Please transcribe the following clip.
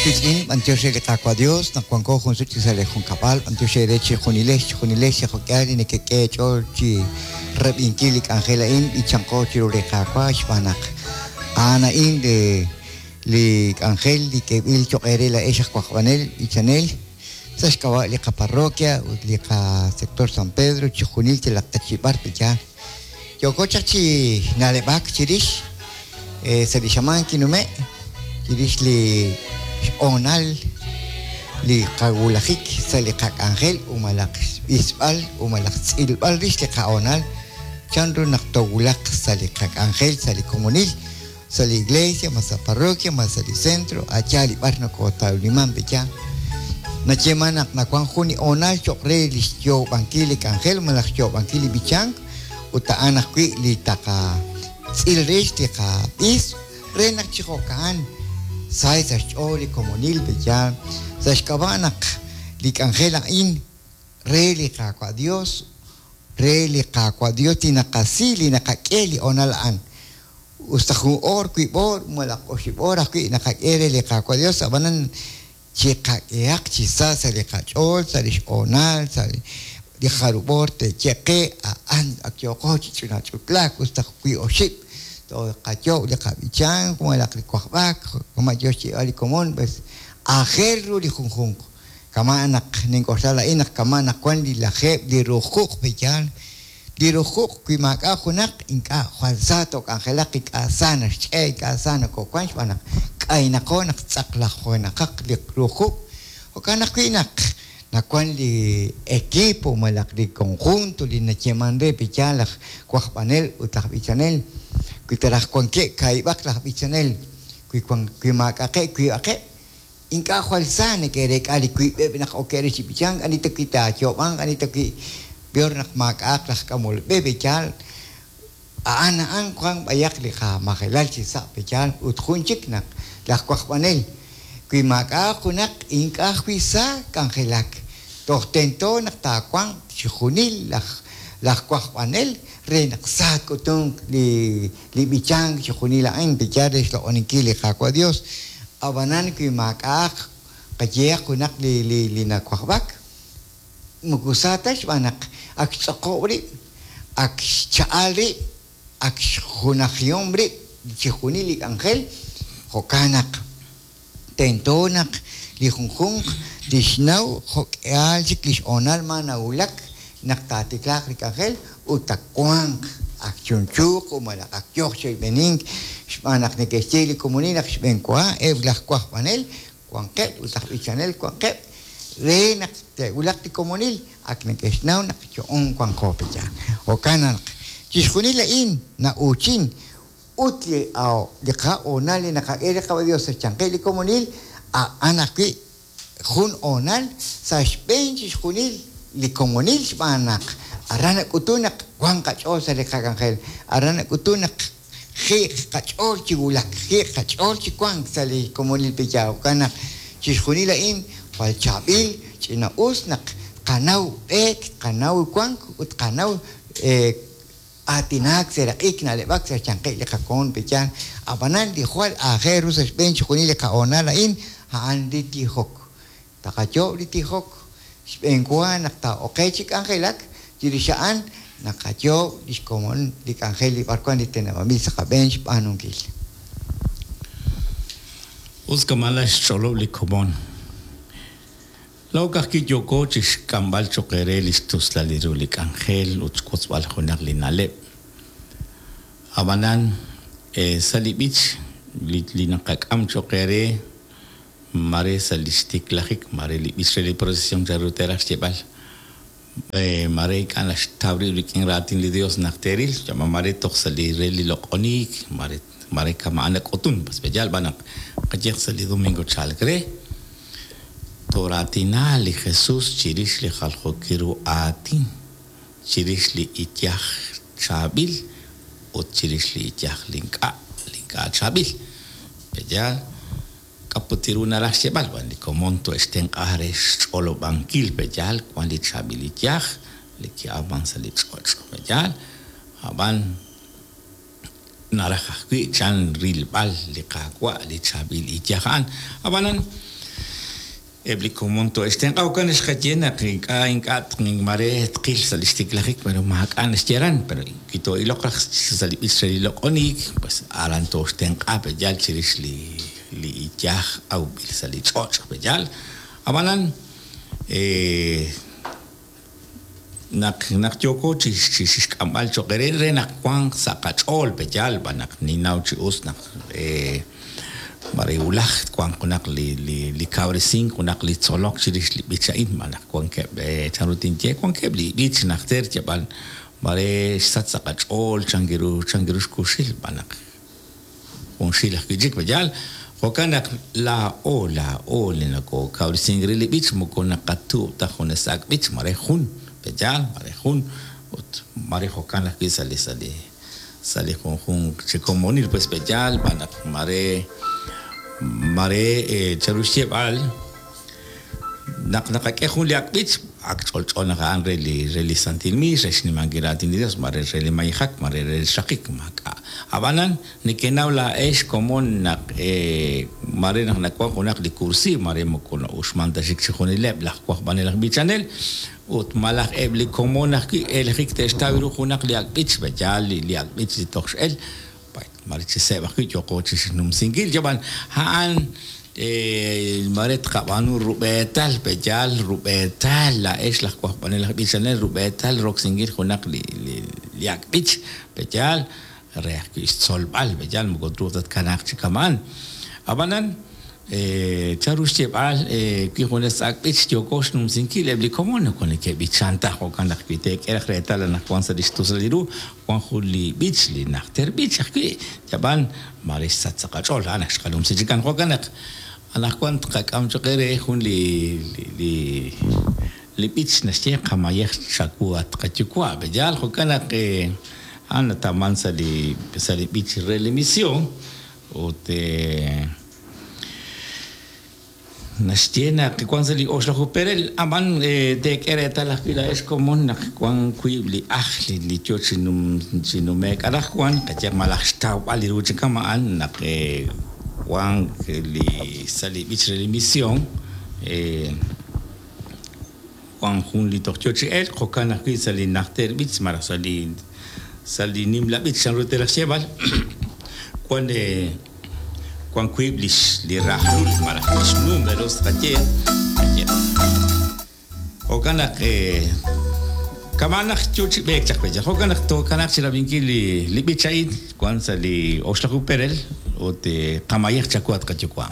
wiitz'in, b'antiox re li Qaawa' Dios naq wanko jun sut chik sa' li junkab'al, b'antiox eere chejunilex, chejunilex li jo'k'ihal li nekek'e eech'ool chi rab'inkil li k'anjel a'in, b'ichanqo chiru li Qaawa' xb'aan naq a'an a'in li li k'anjel li k'eeb'il choq' eere laa'ex aj wajb'anel, b'ichanel, sa' xk'ab'a' li qaparroquia ut li qasector San Pedro, chijunil yalaq ta chi b'ar pe'yaal. Yooko chaq chi na'leb'ak chirix sa' li xamaan kinume' chirix li xhoonal li qawulajik sa' li qak'anjel u malaj xb'isb'al u malaj xtz'ilb'al rix li qahoonal chanru naq toowulaq sa' li qak'anjel sa' li komonil sa' li iglesia, ma sa' parroquia, ma sa' li centro, a' yaal li b'ar nokootawliman pe' yaal. Nayeeman naq nawan jun li hoonal cho'q re li xyoob'ankil li k'anjel malaj xyoob'ankil li b'ichank ut a'an ajwi' li taqatz'il rix li qab'is re naq chi jo'ka'an sa sa' xch'ool li komonil pe' yaal sa' xk'ab'a' naq li k'anjel a'in re li Qaawa' Dios, re li Qaawa' Dios li naqasi, li naqak'e li hoonal a'an. Us ta jun oor, wiib' oor, malaj oxib' oor ajwi' naqak'e re li Qaawa' Dios, ab'anan chiqak'ehaq chi sa sa' li qach'ool, sa' li xhoonal, sa' li jarub' oor te'ye qe, a'an ak yooqo chi ch'inach'utlaak, us ta wiib' oxib' tooqayoob' li qab'ichank malaj li wajb'ak, kama' yo xyeeb'al li komon, pues aajel ru li junjunq. Kama' naq nink'oxla laa'in naq kama' naq wan li lajeeb' li rujuq' pe'yaal Li rujuq' wi maak'a' junaq ink'a' jwal sa took'anjelaq, ink'a' sa naxch'e', ink'a' sa nokoowank xb'aan naq k'aynaqo naq tz'aqlajenaqaq li rujuq'. Jo'kan ajwi' naq nawank li equipo malaj li conjunto li nayeemank re pe'yaal laj wajb'anel ut laj b'ichanel, wi ta raj wankeb' kaahib'aq laj b'ichanel, wi wank wi maak'a'qeb' wiib'aqeb', Ink'a' jwal sa neke'reek'a li wiib'eb' naq okeb' re chi b'ichank, ani ta wi' taayoob'anq, ani ta wi' peor naq maak'a'aq laj k'amol b'e pe'yaal. A'an a'an wank b'ayaq li qamajelal chi sa' pe'yaal ut jun chik naq laj wajb'anel wi maak'a'aq junaq ink'a' ajwi' sa k'anjelak. Toj tento naq taawanq chixjunil laj laj wajb'anel re naq sa tk'utunq li li b'ichank chixjunil a'in pe'yaal re xloq'oninkil li Qaawa' Dios. Ab'anan wi maak'a'aq qayehaq junaq li li li nawajb'ak, moko sa ta xb'aan naq ak xtz'oqob' rib', ak xcha'al rib', ak xjunajihom rib' chixjunil li k'anjel, jo'kan naq Tento naq li junjunq tixnaw jo'k'ihal chik li xhoonal ma nawulak naq taatiklaaq li k'anjel ut taawanq ak chunchuuq ut malaj ak yooq chi oyb'enink xb'aan naq neke'xye li komonil naq xb'eenwa eb' laj wajb'anel wanqeb' ut laj b'ichanel wanqeb' re naq te'wulaq li komonil ak neke'xnaw naq yo'on wanqo pe' yaal. Jo'kan naq chixjunil a'in na'uuchin Ut li li qahoonal li naqak'e li Qaawa' Dios sa' xyanqeb' li komonil, a'an ajwi' jun hoonal sa' xb'een chixjunil li komonil xb'aan naq aran nak'utun naq wan qach'ool sa' li qak'anjel, aran nak'utun naq jiiq qach'ool chi wulak, jiiq qach'ool chi wank sa' li komonil pe'yaal. Jo'kan naq chixjunil a'in jwal chaab'il, ch'ina-us naq tqanaw b'eek, tqanaw wank ut tqanaw Aatinak, seraq'ik, na'leb'ak sa' xyanqeb' li qakomon pe'yaal. Ab'anan, li jwal aajel ru sa' xb'een chixjunil li qahoonal a'in, a'an li tijok. Taqayoob' li tijok xb'een wa naq taa'oqe chi k'anjelak, chirix a'an naqayoob' lix komon li k'anjel li b'arwan li teneb'anb'il sa' qab'een xb'aanunkil. Us kama' naxch'olob' li komon. Laa'o ka'ajwi' yooko chi xk'amb'al cho'q eere li xtuslal ru li k'anjel ut xwotzb'al junaq li na'leb'. Ab'anan, sa' li b'ich li naqak'am cho'q eere, maare sa' li xtiklajik, maare li b'ich re li procesion chanru teeraj xyeeb'al, maare ink'a' naxtaw rib' rik'in raatin li Dios naq teeril, maare toj sa' li re li loq'oniik, maare maare kama'an nak'utun, yaal b'an naq qayehaq sa' li domingo chalk re. Tooraatina li Jesus chirix li jaljookil ru aatin, chirix li iyaj chaab'il ut chirix li iyaj li ink'a' li ink'a' chaab'il. Pe'yaal? K'a' put ru naraj xyeeb'al? Wan li komon to'e'xtenq'a re xch'olob'ankil. Pe'yaal? Wan li chaab'il iyaj li ki'awman sa' li ch'och'. Pe'yaal? A'b'an Naraj ajwi' chan rilb'al li Qaawa' li chaab'il iyaj a'an. Ab'anan, Eb' li komon too'e'xtenq'a. Jo'kan naq xqaye naq ink'a' ink'a' mare tqil sa' li xtiklajik, pero maak'a' naxye aran, pero wi too'iloq raj sa' li b'ich re li loq'oniik, pues aran tooxtenq'a pe' yaal chirix li li iyaj awb'il sa' li ch'och' pe' yaal. Ab'anan naq naq yooko chi xk'amb'al cho'q eere re naq wanq sa' qach'ool pe' yaal b'an naq ninnaw chi us naq mare wulaj twanq junaq li li kawresink junaq li tzolok chirix li b'ich a'in b'an naq wankeb' chanru tinye wankeb' li b'ich najter yab'an mare xsach sa' qach'ool chankiru chankiru xkuxil b'an naq junxil ajwi' chik pe' yaal. Jo'kan naq laa'o laa'o li nakookawresink re li b'ich moko naqatuub' ta junes ak' b'ich mare jun pe' yaal mare jun ut mare jo'kan ajwi' sa' li sa' li sa' li junjunq chi komonil pues pe' yaal b'an naq mare mare chanru xyeeb'al Naq naqak'e jun li ak' b'ich, ak ch'olch'o naq a'an re li re li santil miix, re xnimankil raatin li Dios, mare re li mayejak, mare re li xraqik, maak'a'. A'b'anan, nekenaw laa'ex komon naq mare naq nawan junaq li kursiiw, mare moko na'uxman ta chik chixjunileb' laj wajb'anel aj b'ichanel, ut malaj eb' li komon ajwi' eelejik te'xtaw ru junaq li ak' b'ich, yaal li ak' b'ich li toj x'el, Mare chi seeb' ajwi' yooqo chi xnumsinkil, yab'an a'an mare tqab'aanu rub'eetal, pe'yaal rub'eetal laa'ex laj wajb'anel aj b'ichanel rub'eetal roksinkil junaq li li ak' b'ich, pe'yaal re ajwi' xtzolb'al, pe'yaal moko truuq ta tkanaaq chi kama'an. Ab'anan Chanru xyeeb'al wi junes ak' b'ich yooko xnumsinkil eb' li komon moko neke'b'ichan ta, jo'kan naq wi teek'e raj reetal anaqwan sa' li xtusulal li ru wank jun li b'ich, li najter b'ich ajwi', yab'an maare xsach sa' qach'ool, a'an ak xqanumsi chikan. Jo'kan naq anaqwan tqak'am cho'q eere jun li li li b'ich naxye qamayej chawu at qayuwa'. Pe'yaal? Jo'kan naq a'an natawmank sa' li sa' li b'ich re li mision ut. Naxye naq wank sa' li oxlaju perel, ab'an teek'e reetal ajwi' laa'ex komon naq wank wiib' li ajl li yo chi nume'k anaqwan, qayehaq malaj xtawb'al li ru chi kama'an naq wank li sa' li b'ich re li mision wank jun li toj yo chi elk, jo'kan ajwi' sa' li najter b'ich malaj sa' li sa' li nimla b'ich chanru teeraj xyeeb'al wank Wan wiib' lix li rajlul malaj lix numeros tqaye, tqaye. Jo'kan naq kama'an naq yoo chi b'eek chaq pe' Jo'kan naq tookanaaq chirab'inkil li li b'ich a'in wan sa' li oxlaju perel ut qamayej chawu at qayuwa'.